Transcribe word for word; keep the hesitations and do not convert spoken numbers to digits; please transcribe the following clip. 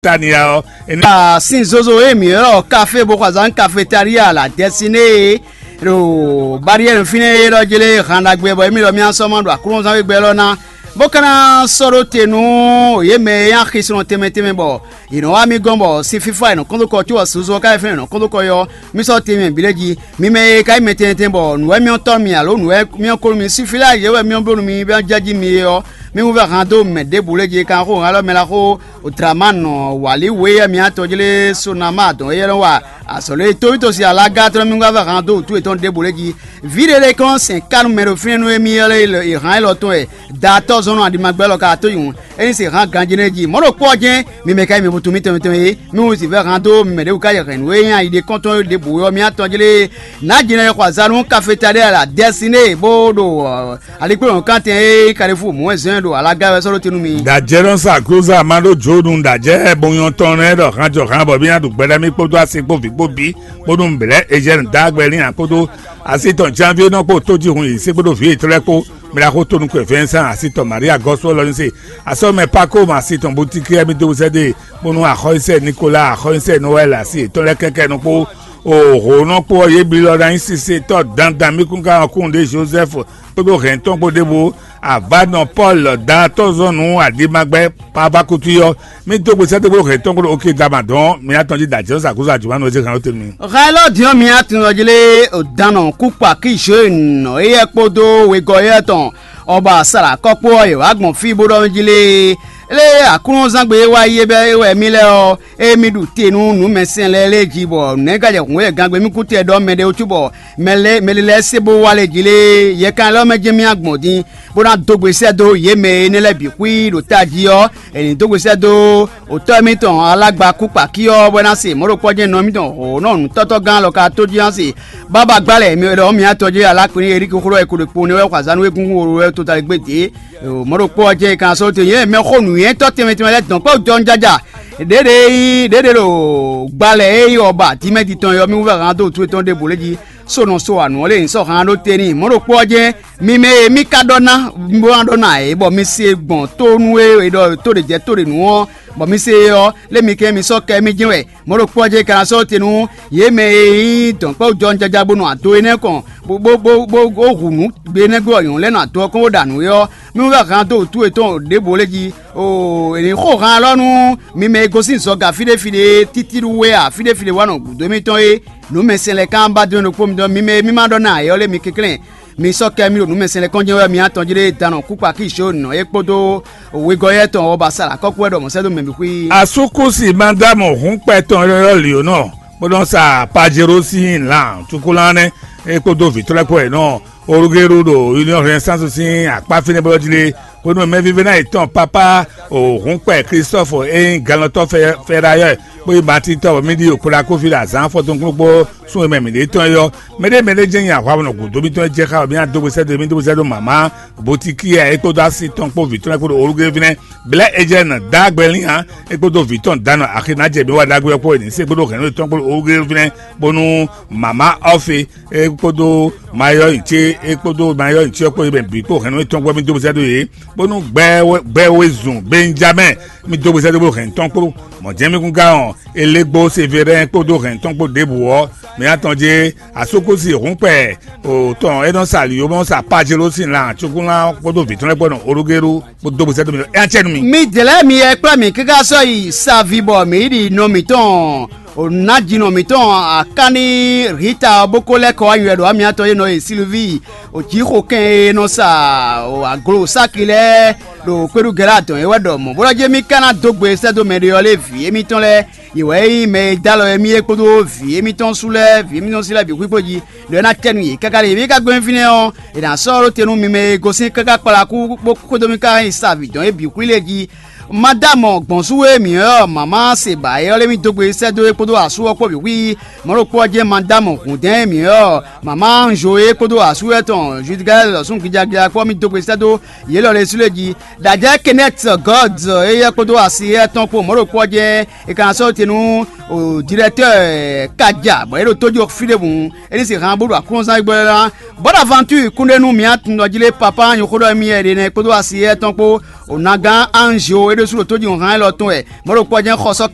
Tania ɔ́, é ní. Sin zozo e mǐ ylɔ́ kafé bó xɔ azǎn kafetalía la dɛsiné e ɖo bariyɛ́nu fínɛ́ é ɖɔ jlé han ɖagbe bɔ émí ɖɔ mì sɔ́ ma ɖo aklúnɔzán e gbɛ élɔ́ ná, bó ka ná sɔ́ ɖó te nú yě mɛ e nyí axisɔnɔ tɛnmɛ tɛnmɛ bɔ yě nɔ wá mì gɔ́n bɔ sin fífá e nɔ kɔn dó kɔ có ɔ́, susu ɔ́ ká nyí fɛ́nú e nɔ kɔn dó kɔ yɔ mì sɔ́ te mɛ bǐ lɛ́ɛ jí. Mi mɛ e ka nyí mɛ tɛnmɛ tɛnmɛ bɔ nǔ wɛ myɔ tɔ́ mi alo nǔ wɛ myɔ ko nú mi, sífí lɛ́ɛ yě wɛ myɔ bló nú mi bɔ jɛ́ jí mi é ɔ́, mi wú vɛ́ han dó mɛ ɖěbǔ lě jí e kan xó han élɔ́ mɛ la xó Draman wǎlíwú e mi atɔjlé Sonama dɔn éyɛ́ nɔ wa azɔ̌ lé tóbítɔ́ sin alágá tɔn mi wá vɛ́ han dó wǔtu yětɔn ɖěbǔ lě jí. Vǐ ɖé lɛ́ɛ kɔn sɛn ká nú mɛ ɖo fínɛ́ nú émí ɔ́ lɛ́ɛ e han élɔ́ tɔn wɛ. Daatɔ́ zɔn nɔ aɖimagbɛ́ lɔ ka tó nyǔ, é ní se han ganjí nɛ́ jí. Mɔ̌ ɖokpó ɔ́ jɛ́n, mi mɛ ka nyí mɛ vutu mitɔn mitɔn é, mi wú zǐn vɛ́ han dó mɛ ɖěbǔ ká yɛ hɛ̌nnu e nyí ayi ɖé kɔ́ntɔn ɖěbǔ ɔ́, mi atɔjlé nǎ jǐnɔ e xɔ azǎn nú kafetaɖé ala dɛsiné bó ɖo alikpléwɔ̌nkantɛn e Kalifu mɔ̌ wɛ zɔ́n ɛ ɖo alaga wɛ sɔ́ ɖó te nú mi. Dǎjɛ́ nɔ sa klúza ma ɖó Jǒnu dǎjɛ́ bonyɔ́ tɔn nɛ́ ɖɔ han jɔ han bɔ mì ná ɖu gbɛɖá mì kpódó asi kpó vǐ kpó bí, bónú mǐ blɛ́ Ezɛ́nu dó agbɛ n'i ǎ kpódó asi tɔn Janvié nɔ kpó tójihun yě se kpódó vǐ yětɔn lɛ́ɛ kpó, mì ná xo tónú kwe Vɛnsan asi tɔn Maria gɔ́ sú élɔ́ ní se. Asɔ́ mɛ Pako ma asi tɔn Butikɛ mì dó sɛ́ ɖe, bónú axɔ́sɛ Nikola, axɔ́sɛ Nowɛl asi yětɔn lɛ́ɛ kɛ́kɛ́ nɔ kpó. O hǒnɔ kpó ɔ́, yě bǐ lɔ ná nyí sisetɔ́ dandan mì kún ka ɔ́ kún ɖě Jozɛ́fu kpódó hɛ̌ntɔn kpó ɖěbǔ. Avǎnɔ Pɔ́lu daatɔ́ zɔn nǔ aɖimagbɛ́ Pavakútú ɔ́, mì dó gbe sɛ́ dó gbó hɛ̌ntɔn kpódó Okedama dɔn mǐ atɔn jí ɖo ajɔ̌ sa kúzú ajǔmánú e zé hɛn ɔ́ tɛ́nú mì. Hɛn élɔ́ din ɔ́, mi atɔn jí lé dǎnnɔ kúkpa kí Joyinu éyɛ́ kpódó wegɔ́ éyɛ́ tɔn ɔ́ ba sala kɔ́ kpó ɔ́, yě wá gbɔn fí bó ɖɔ mì jí lé. Lé aklúnɔzángbe e wá yi é bɛ́ é wɛ mì lɛ́ɛ ɔ́, ée mì ɖu te nú nǔmɛsɛn lɛ́ɛ lée jí bɔ nɛ̌ ka jɛ hǔn e gangbe mì kú tɛ ɖɔ mɛɖé wútu bɔ mɛ lɛ́ɛ mɛ lɛ́ɛ se bó wá lé jí lé? Yɛkan élɔ́ mɛ jɛ́n mì agbɔn din, bó ná dó gbe sɛ́ dó yě mɛ énɛ́ lɛ́ɛ bǐ xwí ɖo tají ɔ́, è nǐ dó gbe sɛ́ dó otɔ́ émítɔn alágba kúkpakí ɔ́, bɔ é ná se mɔ̌ ɖokpɔ́ jɛ́n nɔ émítɔn hlɔ̌nlɔ́ nǔtɔ́tɔ́ gán lɔ ka tó jí ná se. Bába gbá lɛ̌ mi ɖɔ mì atɔn jí alákùnrin Eriki xó ɖɔ è ko ɖo kpo nɛ́ wɛ xɔ azǎn nú égúngún wolo wɛ tota lɛ́ gbé dě. Mɔ̌ ɖokpó ɔ́ jɛ́n è ka ná sɔ́ te nyɛ mɛxó nǔnywɛ́tɔ́ tɛnmɛ tɛnmɛ lɛ́ɛ dɔn kpɛ́ jɔ́n jája. Ɖěɖe e nyí ɖěɖe ɖo gbalɛ e nyí ɔba dímɛ́di tɔn e ɔ́, mì wú vɛ han dó wǔtu yětɔn ɖěbǔ lé jí. Sónɔ so anu ɔ́ lé nyǐ sɔ́ han ɖó te n'i. Mɔ̌ ɖokpó ɔ́ jɛ́n, mi mɛ e mì ka ɖɔ ná, bó ná ɖɔ ná ǎ é, bɔ mi se gbɔn tó nú e è ɖɔ tó ɖě jɛ tó ɖě nu ɔ́, bɔ mi se é ɔ́, lé mi kɛn mi sɔ́ kɛ mì jɛ́n wɛ. Mɔ̌ ɖokpó ɔ́ jɛ́n è ka ná sɔ́ te nú yě mɛ e nyí dɔ̌nkpɛ́wú jɔ́njɔ́já bó nɔ ado énɛ́ kɔn, bó bó bó bó bó hu nǔ gbe énɛ́ gbe ɔ́, nyɔ̌nu lɛ́ɛ nɔ ado ɔ́ kɔn bó ɖa nǔ é ɔ́, mì wú vɛ han dó wǔtu yětɔn ɖěbǔ lé jí. Oo, è nǐ xo han élɔ́ nú mi mɛ e gosín zɔga fí ɖé fí ɖé títí ɖu wɛ a, fí ɖé fí ɖé wá nɔ gǔdo émítɔn é. Nǔmɛsɛn lɛ́ɛ kan ba dó nɔ kpó mi ɖɔ mi mɛ e mì ma ɖɔ ná ǎ é ɔ́ lé mi kɛnklɛ́n. Mi sɔ́ kɛ mì ɖo nǔmɛsɛn lɛ́ɛ kɔn jɛ́n wɛ mi atɔn jí ɖé danɔ kúkpa kí Jǒnu ɔ́ é kpódó wegɔ́ yɛ́ tɔn ɔ́ ba sa ɖo akɔ́kú wɛ ɖɔ mɔ̌ sɛ́ dó mɛ bǐ xwí. Asúkúsi Madámu hǔnkpɛ tɔn élɔ́ lǐ ó nɔ, bó nɔ sa Pajero sín lan cúkúlánɛ́ é kpódó vǐ tɔn lɛ́ɛ kpó wɛ nɔ Olugelu ɖo Union Renaissance sín akpá fínɛ́ bó jí lé, bónú mɛvívɛ́ná yětɔn pápá hǔnkpɛ Klistɔ́fu e nyí gannɔtɔ́ Fɛrayɔ́ kpó yi Matín tɔn bɔ mì ɖi okpla kófí ɖo azǎn afɔtɔn kplɔ́nkplɔ́n sún e mɛ mǐ ɖe tɔn é ɔ́, mɛɖé mɛɖé jɛ́n nyi ahwa nɔ gǔdo mitɔn e jɛ xá bɔ mì ná dó gbe sɛ́ dó mì dó gbe sɛ́ dó mama Botikíɛ é kpódó asi tɔn kpó vǐ tɔn lɛ́ɛ kpódó Olugelu fínɛ́. Blɛ̌ Ejɛ́nu dó agbɛ lín ǎ, é kpódó vǐ tɔn Danu Axinajɛ mǐ wa ɖagbe ɔ́ kpó e nǐ se kpódó hɛ̌nnu yětɔn kpódó Olugelu fínɛ́, bónú mama Ɔ́fe é kpódó mayɔ́ nyi ce é kpódó mayɔ́ nyi ce ɔ́ kpó é mɛ bǐ kpó hɛ̌nnu yětɔn kpó mì dó gbe sɛ́ dó yě, bónú gbɛ gbɛ wezun Benjamɛ́ɛ mì dó gbe sɛ́ dó bó hɛ̌nnu tɔn kpó. Mɔ̌ jɛ́n mì kún gán ɔ́, Elegbo Severɛ́n kpódó hɛ̌nnu tɔn kpó ɖěbǔ ɔ́, mǐ atɔn jɛ asúkúsi hǔnkpɛ tɔn e nɔ sa lǐyó bɔ nɔ sa Pajelo sín lan cúkúnlán kpódó vǐ tɔn lɛ́ɛ kpó nɔ Olugelu bó dó gbe sɛ́ dó mi ɖɔ é ná cɛ nú mi. Mi dlɛ̌ mi yɛ kplá mì káká sɔ́ yi sa vi bɔ mǐ yi ɖi nɔ mǐtɔn, ò nǎ jinɔ mǐtɔn Akáni Rita ɔ́ bó ko lɛ́ kɔ wá nywɛ ɖo amyatɔ́ e nɔ e Silvíi, ò jǐxo kɛn e nɔ sa aglo sáki lɛ́ɛ ɖo kpéɖugɛ́ lɛ́ɛ adɔn é wɛ ɖɔ mɔ̌ bó ɖɔ jí émí ka ná dó gbe sɛ́ dó mɛɖé ɔ́ lé vǐ émítɔn lɛ́ɛ. Yě wɛ nyí mɛ e dó alɔ émí é kpódó vǐ émítɔn sú lɛ́ɛ, vǐ émítɔn sí lɛ́ɛ bǐ xwíxwó jí, ɖɔ é ná cɛ nú yě káká ɖe. Yě ká gbɛ́ fínɛ́ ɔ́, è nǎ sɔ́ ɖó te nú mi mɛ e gosín káká kpalaku bó xwedó mì ká nyi sa avǐ dɔn é bǐ xwí lě jí. Má dó amɔ gbɔn sú e mǐ ɔ́, mama se ba é ɔ́ lé mì dó gbe sɛ́ dó é kpódó asú ɔ́ kpó bǐ xwí. Mɔ̌ ɖokpó ɔ́ jɛ́n ma dó amɔ hǔndɛ́n mǐ ɔ́, mama Anzo é kpódó asú ɔ́ tɔn Judgɛ́l lɔ̌sún gijagija kpó ɔ́ mì dó gbe sɛ́ dó yě lɔ lɛ́ɛ sú lě jí. Dajɛ Kenneth Gɔd éyɛ́ kpódó asi éyɛ́ tɔn kpó mɔ̌ ɖokpó ɔ́ jɛ́n è ka ná sɔ́ te nú dirɛtɔ́ɔ Kaja bɔ é ɖo tójú fí ɖěbǔ, é ní se han bó ɖo aklúnɔzán gbɔ ná. Bɔ́ ɖo avantúri kúnɖé nú mǐ atundɔjílé papá nyɔ̌xóɖɔ émí ɛɖe nɛ́ kpódó asi éyɛ́ tɔn kpó O nagán Anzio é ɖésú ɖo tójínhɔn élɔ́ tɔn wɛ. Mɔ̌ ɖokpó ɔ́ jɛ́n xɔ sɔ́